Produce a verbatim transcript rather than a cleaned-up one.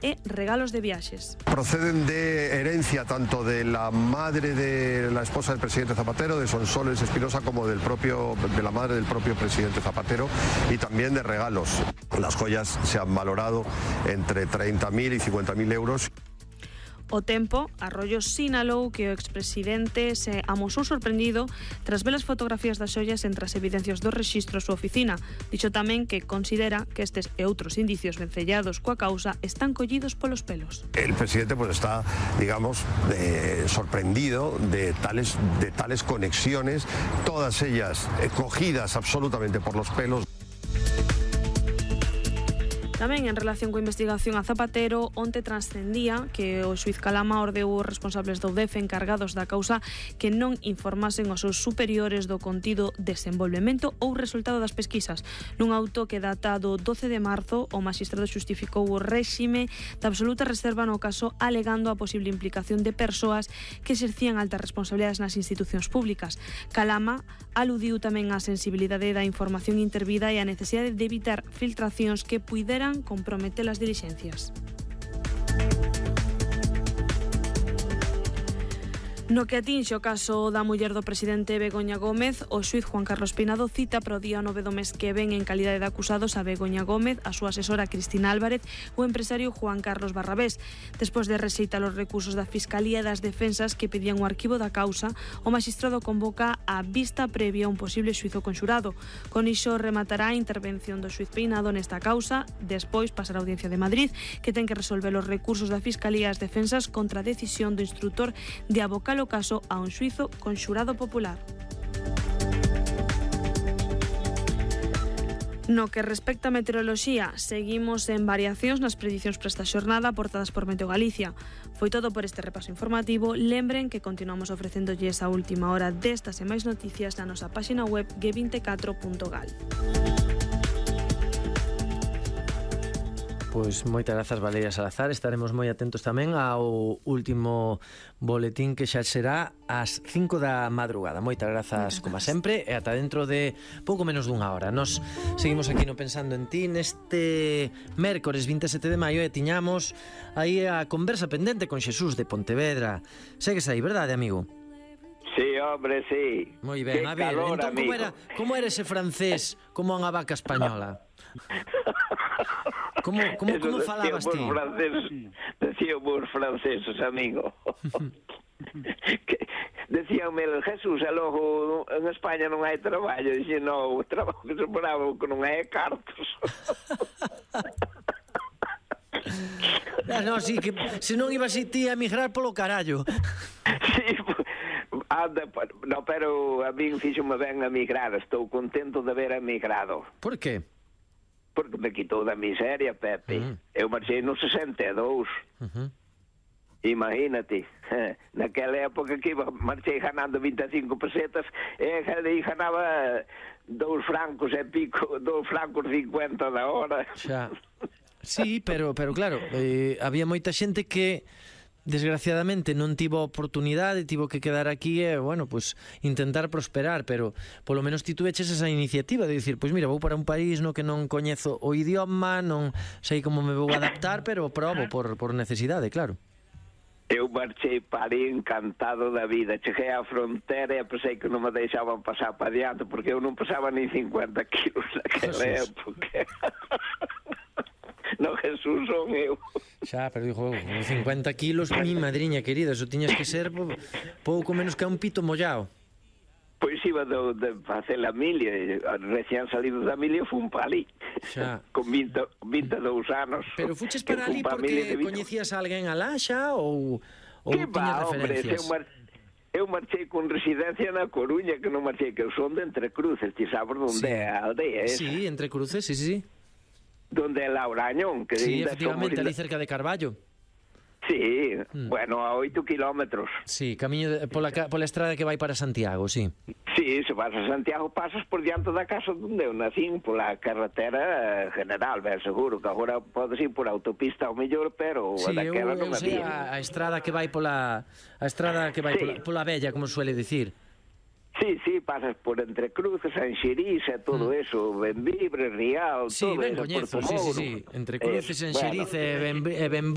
e regalos de viaxes. Proceden de herencia tanto de la madre de la esposa del presidente Zapatero, de Sonsoles Espinosa, como del propio, de la madre del propio presidente Zapatero, y también de regalos. Las joyas se han valorado entre treinta mil y cincuenta mil euros. O tempo, Arroyo sinalou que o expresidente se amosou sorprendido tras ver as fotografías das xoias entre as evidencias do rexistro a súa oficina. Dixo tamén que considera que estes e outros indicios vencellados coa causa están collidos polos pelos. El presidente pues está, digamos, eh, sorprendido de tales, de tales conexiones, todas ellas eh, cogidas absolutamente por los pelos. Tamén en relación coa investigación a Zapatero, onte transcendía que o xuíz Calama ordeou os responsables do D E F encargados da causa que non informasen aos seus superiores do contido, desenvolvemento ou resultado das pesquisas. Nun auto que data do doce de marzo, o magistrado xustificou o réxime de absoluta reserva no caso, alegando a posible implicación de persoas que exercían altas responsabilidades nas institucións públicas. Calama aludiu tamén á sensibilidade da información intervida e á necesidade de evitar filtracións que puideran comprometer las diligencias. No que atinxe o caso da muller do presidente Begoña Gómez, o xuíz Juan Carlos Peinado cita para o día nove do mes que ven en calidade de acusados a Begoña Gómez, a súa asesora Cristina Álvarez o empresario Juan Carlos Barrabés. Despois de rexeitar os recursos da Fiscalía e das defensas que pedían o arquivo da causa, o magistrado convoca a vista previa a un posible xuizo conxurado. Con iso rematará a intervención do xuíz Peinado nesta causa, despois pasará a Audiencia de Madrid, que ten que resolver os recursos da Fiscalía e as defensas contra a decisión do instrutor de abocar o caso a un xuizo conxurado popular. No que respecta a meteoroloxía, seguimos en variacións nas predicións para esta xornada aportadas por Meteo Galicia. Foi todo por este repaso informativo. Lembren que continuamos ofrecéndolles a última hora destas e máis noticias na nosa páxina web g veinticuatro punto gal. Pois moitas grazas, Valeria Salazar. Estaremos moi atentos tamén ao último boletín que xa será ás cinco da madrugada. Moitas grazas, como sempre, e ata dentro de pouco menos dunha hora. Nos seguimos aquí no Pensando en Ti neste mércores vinte e sete de maio e tiñamos aí a conversa pendente con Xesús de Pontevedra. Segues aí, verdade, amigo? Sí, hombre, sí. Moi ben, que a ver, calor, entón como era, como era ese francés como unha vaca española? Como, como, como falabas ti? Francés, decían vos franceses, amigo. Que decíanme, Jesús, e logo en España non hai traballo. Dixe, non, o traballo que se bravo que non hai cartos. Ah, no, sí, que se non ibas ti a emigrar polo carallo. Sí, anda, no, pero a min fíxome ben a migrar. Estou contento de haber emigrado. Por qué? Porque me quitou da miseria, Pepe. Uh -huh. Eu marchei no sesenta e dous. Uh -huh. Imagínate, naquela época que iba, marchei ganando vinte e cinco pesetas e aí ganaba dous francos e pico, dous francos cincuenta da hora. Xa. Sí, pero, pero claro, eh, había moita xente que desgraciadamente non tivo oportunidade, tivo que quedar aquí e, bueno, pues intentar prosperar, pero polo menos ti tuveches esa iniciativa de dicir, pois mira, vou para un país no que non coñezo o idioma, non sei como me vou adaptar, pero probo por, por necesidade, claro. Eu marchei para ali encantado da vida. Cheguei á frontera e pensei que non me deixaban pasar para adiante porque eu non pasaba ni cincuenta kilos naquela época. No, Jesús, son eu. Xa, pero dijo, cincuenta kilos, mi madriña querida, eso tiñas que ser pouco menos que un pito mollado. Pois iba de, de facer a milia, recién salido da milia fun para ali, xa. Con vinte, vinte e dous anos. Pero fuches para ali porque coñecías a alguén alá xa ou, ou tiñas referencias? Hombre, eu marchei con residencia na Coruña, que non marchei, que eu son de Entre Cruces, ti sabes onde sí. É a aldea esa? Sí, Entre Cruces, sí, sí, sí. Donde é Laurañón, que sí, efectivamente, ali cerca de Carballo. Sí, mm. bueno, a oito kilómetros. Sí, camiño de, pola, pola estrada que vai para Santiago, sí. Sí, se vas a Santiago pasas por diante da casa onde eu nacín, pola carretera general, ben seguro, que agora podes ir por autopista ao mellor, pero sí, daquela non sei había. A, a estrada que vai pola a estrada que vai sí. pola, pola Bella, como suele dicir. Sí, sí, pasas por Entre Cruces, Anxeriz e todo mm. eso, Benvibre, Rial, sí, todo ben eso, coñezo, sí, sí, sí, Entre Cruces, eh, Anxeriz bueno, e Benvibre.